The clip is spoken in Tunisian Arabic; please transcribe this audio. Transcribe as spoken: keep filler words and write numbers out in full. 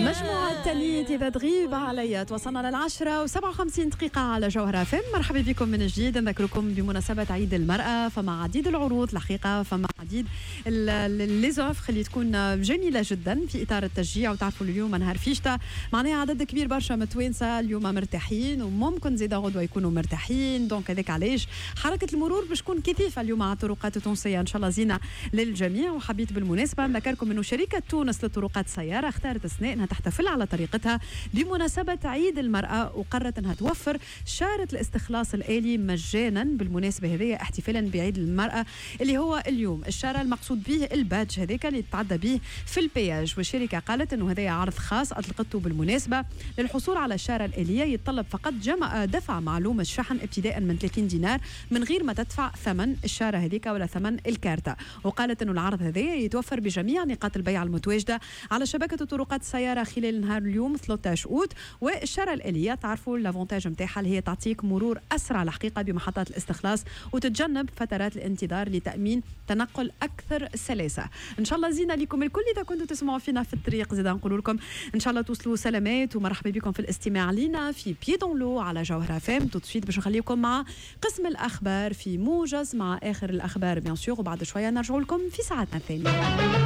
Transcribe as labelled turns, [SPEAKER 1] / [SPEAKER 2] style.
[SPEAKER 1] مجموعة تانيت إذا تغيب عليا. توصلنا للعشرة وسبعة وخمسين دقيقة على جوهرة أف أم. مرحبا بكم من جديد. نذكركم بمناسبة عيد المرأة فما عديد العروض الحقيقة، فما عديد les offres اللي تكون جميلة جدا في إطار التشجيع. وتعرفوا اليوم نهار فيشتا، معناها عدد كبير برشا من التوانسة اليوم مرتاحين وممكن زيدا غدوة يكونوا مرتاحين، donc هذاك علاش حركة المرور باش تكون كثيفة اليوم على الطرقات التونسية. إن شاء الله زينة للجميع. وحبيت بالمناسبة نذكركم أنه شركة تونس للطرقات السيارة اختارت السنة أنها تحتفل على طريقتها بمناسبة عيد المرأة، وقررت أنها توفر شارة الاستخلاص الآلي مجانا بالمناسبة هذه احتفالا بعيد المرأة اللي هو اليوم. الشارة المقصود به ال badge هذاك اللي تتعدى به في ال péage. والشركة قالت أنه هذا عرض خاص أطلقته بالمناسبة. للحصول على الشارة الآلية يتطلب فقط جمع دفع معلومة الشحن ابتداء من ثلاثين دينار من غير ما تدفع ثمن الشارة هذيك ولا ثمن الكارتة. وقالت أنه العرض هذا يتوفر بجميع نقاط البيع المتواجدة على شبكة طرقات السيارة خلال نهار اليوم ثلاثة عشر أوت. والشارة الآلية تعرفوا l'avantage نتاعها اللي هي تعطيك مرور أسرع الحقيقة بمحطات الاستخلاص وتتجنب فترات الانتظار لتأمين تنقل أكثر سلاسة. إن شاء الله زينة لكم الكل. إذا كنتوا تسمعوا فينا في الطريق زيدا نقول لكم إن شاء الله توصلوا سلامات ومرحبا بكم في الاستماع لنا في Pieds dans l'eau على جوهرة أف أم. tout de suite باش نخليكم مع قسم الأخبار في موجز مع آخر الأخبار bien sûr، وبعد شوية نرجع لكم في ساعتنا الثانية.